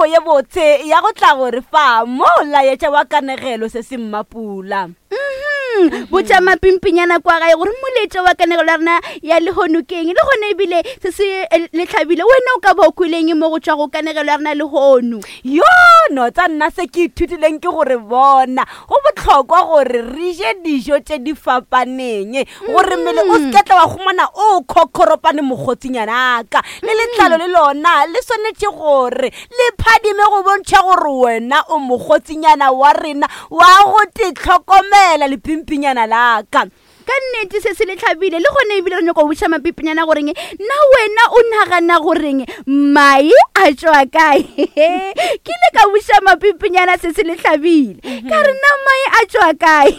nako ye botse ya go tla go re fa mo laetša wa kanegelo se se mmapula. Mhm. Botša mapimpinyana kwa gae gore moletša wa kanegelo ya rena ya lehono keng le gona ebile se se eh, le tlhabile wena o ka ba o kweleng mo go tšwa go kanegelo ya rena lehono. Yo no tsa nna se ke ithutileng ke gore bona go bohlokwa gore re je dijo tše di fapaneng gore mmele o se tla wa humana o khokhoropane mokgotsinyana ka le letlalo le lona le swanetše gore le phadime go bontšha gore wena o mokgotsinyana wa rena wa go te tlhokomela lepimpinyana la ka. Ka nnete se se le tlhabile le gone ebile re nyako go botša mapipinyana goreng na wena o nagana goreng mae a tšwa kae. Ke ile ka botša mapipinyana se se le tlhabile ka re na mae a tšwa kae.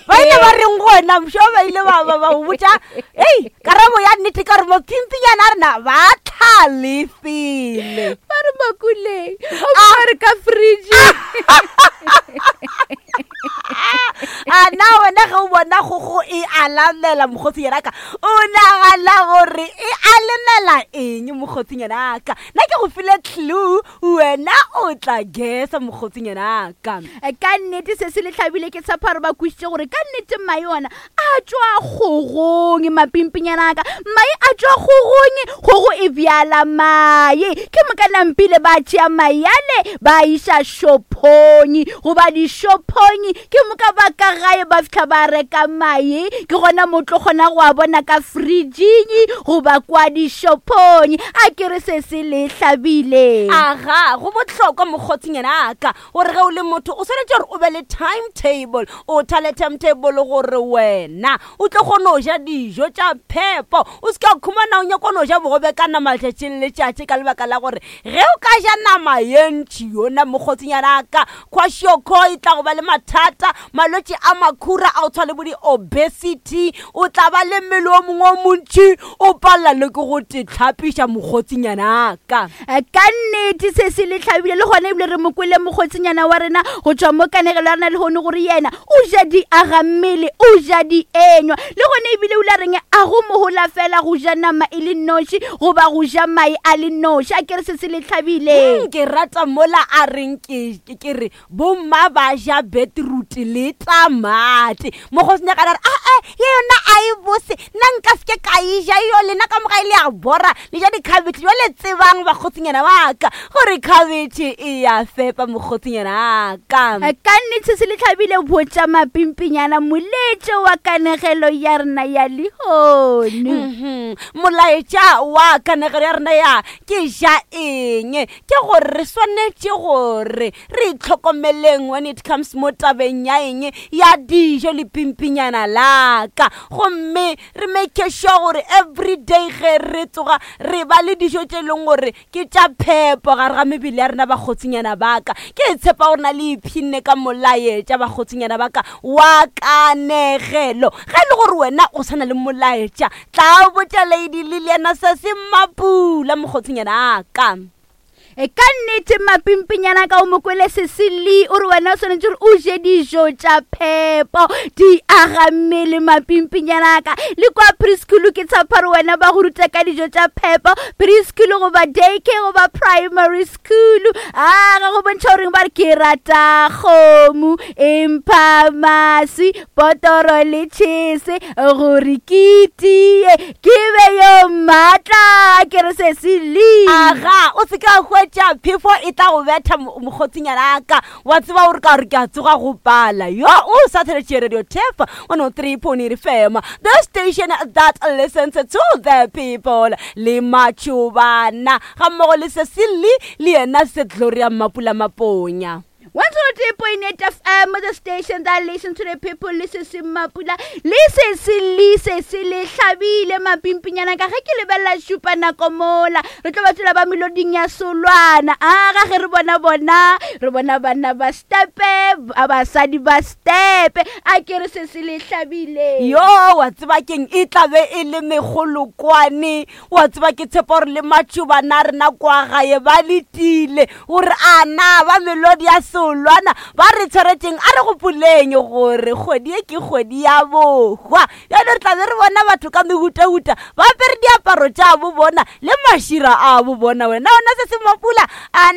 Ba ile ba reng go wena mšo ba ile ba ba ba go botša ei karabo ya nnete ka gore mapimpinyana a rena ba tlhalefile. Ba re makuleng o ba re ka fridge. A na wena ge o bona kgogo e alamela mokgotsinyana ka o nagana gore e alemela eng mokgotsinyana ka? Nna ke go file clue wena o tla gesa mokgotsinyana ka. Ka nnete se se le tlhabile ke tshepa gore ba kwešiše gore ka nnete mae ona a tšwa kgogong mapimpinyana ka. Mae a tšwa kgogong, kgogo e bjala mae. Ke moka nampile ba tšea mae ale ba iša šophong goba dišophong, ke moka ba ka gae ba fihla ba reka mae. Ke gona mo tlo kgona go a bona ka fridging goba kwa dišophong. A ke re se se le hlabile. Aga, go bohlokwa mokgotsinyana ka gore ge o le motho o swanetše gore o be le timetable, o thale timetable gore wena o tlo kgona go ja dijo tša phepo, o se ka khumana o nyaka no ja bogobe ka nama letšatši le letšatši ka lebaka la gore ge o ka ja nama ye ntši yona mokgotsinyana ka kwashiorkor e tla go ba le mathata, malwetši a makhura a go tshwana le bo di-obesity, o tla ba le mmele o mongwe o montši o palela le ke go te tlhapiša mokgotsinyana ka. Ka nnete se se le hlabile le gona ebile re mo kwele mokgotsinyana wa rena go tšwa mo kanegelo ya rena lehono gore yena o ja di aga mmele, o ja di enywa le gona ebile o ile a reng a go mohola fela go ja nama e le noši goba go ja mae a le noši. A ke re se se le hlabile. Ke rata mola a reng ke re bomma ba ja beetroot le tamati. Mokgotsinyana a re aa ye yona a e bose, nna nka se ke ka e ja yo, lena ka moka e le ya bora le ja dikhabetšhe. Jwale tsebang bakgotsinyana ba ka gore khabetšhe e ya fepa mokgotsinyana wa ka. Ka nnete se le hlabile botša mapimpinyana moletšo wa kanegelo ya rena ya lehono. Molaetša wa kanegelo ya rena ya ke ja eng ke gore re swanetše gore re itlhokomeleng when it comes mo tabeng ya eng ya dijo le pimpinyana la ka, gomme re make sure gore every day ge re tsoga re ba le dijo tše e leng gore ke tša phepo gare ga mebele ya rena bakgotsinyana ba ka. Ke tshepa gore na le ipshinne ka molaetša bakgotsinyana ba ka wa kanegelo. Ge e le gore wena o sa na le molaetša, tla botša Lady Liliana se se mapula mokgotsinyana ka. E ka nnete mapimpinyana ka o mokwele Cecily o re wena o swanetše gore o je dijo tša phepo di aga mmele mapimpinyana ka. Le kwa preschool ke tshepa gore wena ba go ruta ka dijo tša phepo preschool goba daycare goba primary school. A ga go bontšha goreng ba re ke rata kgomo empha maswi potoro le tšhese gore ke tie ke be yo maatla. Ke re se se le aga o se ka hwetša phefo e tla go betha mokgotsinyana ka wa tseba gore ka gore ke a tsoga go pala yo o sa theletše radio Turf 103.8 FM, the station that listens to the people. Le matšobana ga mmogo le Cecily le yena se Gloria Mapula Maponya. 103.8 FM, the station that listens to the people. Le se se mapula, le se se le se se le hlabile mapimpinyana ka ge ke lebelela šupa nako mola. Re tlo ba tswela ba meloding ya solwana. A ga ge re bona bona, re bona banna ba stepe, ba basadi ba stepe. A ke re se se le hlabile. Yo, wa tseba keng e tla be e le megolokwane. Wa tseba ke tshepa gore le matšobana a rena kwa gae ba letile gore a na ba melodi ya solwana ba re tshwaretšeng. A re gopoleng gore kgwedi e ke kgwedi ya bohwa, bjale re tla be re bona batho ka mehutahuta ba apere diaparo tša bo bona le mašira a bo bona. Wena ona se se mapula a